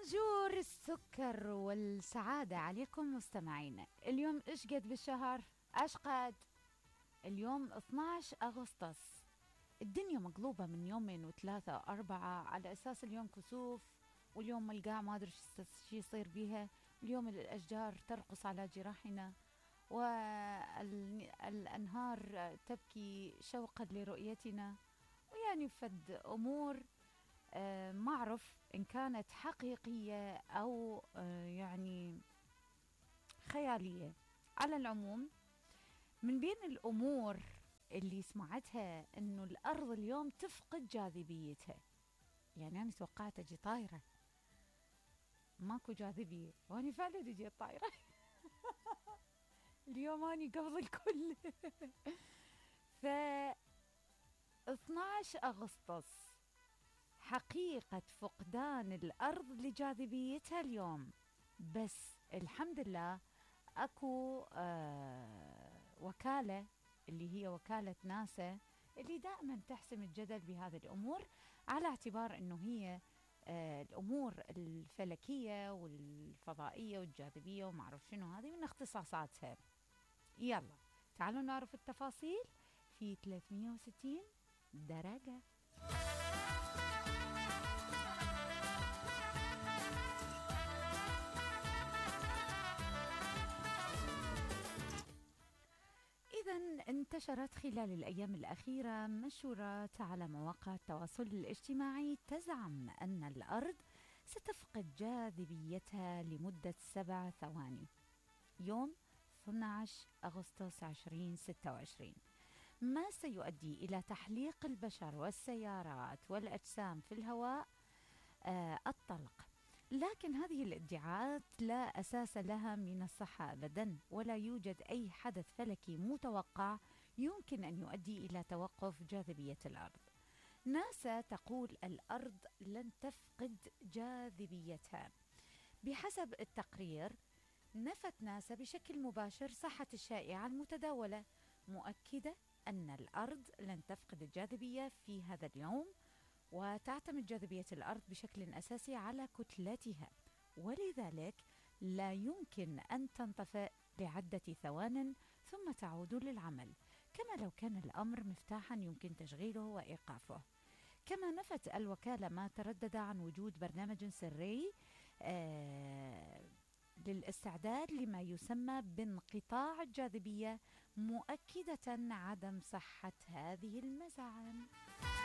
بونجور السكر والسعادة عليكم مستمعينا. اليوم ايش قد بالشهر؟ ايش قد؟ اليوم 12 أغسطس. الدنيا مقلوبة من يومين وثلاثة وأربعة على أساس اليوم كسوف، واليوم القاع ما أدري شو يصير بيها. اليوم الأشجار ترقص على جراحنا والأنهار تبكي شوقا لرؤيتنا، ويعني فد أمور ما أعرف إن كانت حقيقية أو يعني خيالية. على العموم، من بين الأمور اللي سمعتها إنه الأرض اليوم تفقد جاذبيتها. يعني أنا توقعت أجي طايرة، ماكو جاذبية، وأنا فعلا أجي طايرة. اليوم أني قبل الكل. ف 12 أغسطس حقيقة فقدان الأرض لجاذبيتها اليوم. بس الحمد لله أكو وكالة اللي هي وكالة ناسا اللي دائما تحسم الجدل بهذه الأمور، على اعتبار أنه هي الأمور الفلكية والفضائية والجاذبية ومعرف شنو هذه من اختصاصاتها. يلا تعالوا نعرف التفاصيل في 360 درجة. إذن انتشرت خلال الأيام الأخيرة منشورات على مواقع التواصل الاجتماعي تزعم أن الأرض ستفقد جاذبيتها لمدة 7 ثواني يوم 12 أغسطس 2026، ما سيؤدي إلى تحليق البشر والسيارات والأجسام في الهواء الطلق. لكن هذه الادعاءات لا أساس لها من الصحة أبدا، ولا يوجد أي حدث فلكي متوقع يمكن أن يؤدي إلى توقف جاذبية الأرض. ناسا تقول الأرض لن تفقد جاذبيتها. بحسب التقرير، نفت ناسا بشكل مباشر صحة الشائعة المتداولة، مؤكدة أن الأرض لن تفقد الجاذبية في هذا اليوم، وتعتمد جاذبية الأرض بشكل أساسي على كتلتها، ولذلك لا يمكن أن تنطفئ لعدة ثوان ثم تعود للعمل، كما لو كان الأمر مفتاحا يمكن تشغيله وإيقافه. كما نفت الوكالة ما تردد عن وجود برنامج سري للاستعداد لما يسمى بانقطاع الجاذبية، مؤكدة عدم صحة هذه المزاعم.